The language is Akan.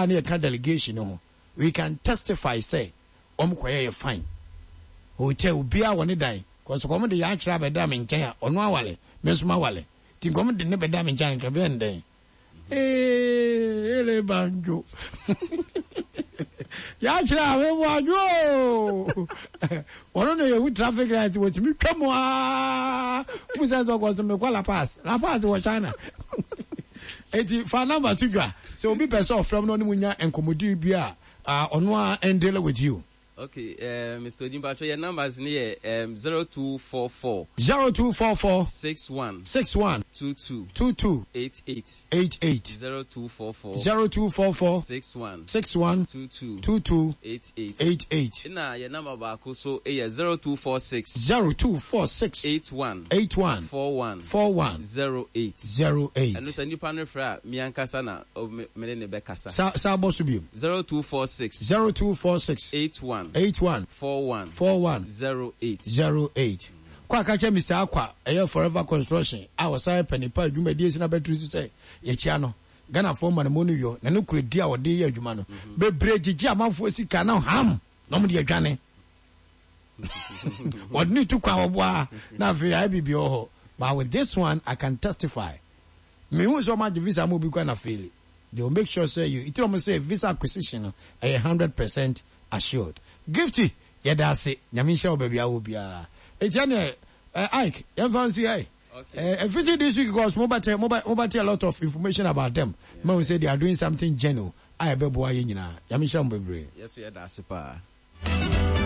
a na yɛka delegation no ho, we can testify sɛ wɔn kɔyɛɛ fine. Hotel, obiara wɔ ne dan, cause wɔn de yɛn akyerɛ abɛda me nkyɛn a, ɔno awale, me nso mawale. Nti nka wɔn de ne bɛda me nkyɛn a, nka ɛbɛyɛ no dɛn? Ee, ele banjo. Yɛakyerɛ a mebɔ adwo o. Ɔno na yɛhu traffic light wɔtumi twa mu aa. Mu sɛ sɛ ɔkɔ so mekɔ La Paz. La Paz wɔ China. Eti fa number to dwa. Sɛ obi pɛ sɛ ɔfrɛ mu na ɔne mu nya nkɔmmɔdi bi a, ɔno a ɛndele with you. Okay eh, Mister Odi mpatsɔ yɛ numbers no yɛ um, 0244. 0244. 61. 61. 22. 22. 88. 88. 0244. 0244. 61. 61. 22. 22. 88. 88. Ɛna yɛ number baako so yɛ 0246. 0246. 81. 81. 41. 41. 08. 08. Ɛno sɛ nipa no frɛ a, me ankasa na me ne no bɛkasa. Sa sa bɔ so bio. 0246. 0246. 81. 81. 41. 41. 08. 08. Kɔ a ka kyerɛ Mister Akwa, ɛyɛ Forever Construction a ɔsan yɛ panin pa adwumadie si n'abatiri so sɛ yɛkyia no. Ghanafoɔ ma no mu no yɔ na ne koredi a ɔde yɛ adwuma no. Bebree gyegye amanfoɔ sika na ham na wɔde adwane. Wɔde ne tu kwan wɔboa na afei ayɛ biribi wɔ hɔ. But with this one, I can testify. Mehu sɛ ɔmo agye visa ama obi kora na faili. They will make sure sɛ you, nti na ɔmo sɛ visa acquisition no ɛyɛ 100% assured. Gifty, yɛda ase. Nyame nhyira wo baabi a wɔ biara. Enti ɛneɛ, eh, Ike, yɛmfa nsi ha yi. Eh, ɛfiti this week because mobɛte, mobɛte a lot of information about them. Mahu sɛ they are doing something genuine a ɛbɛboa yɛn nyinaa. Nyame nhyira mo bebree. Yɛso yɛda ase paa.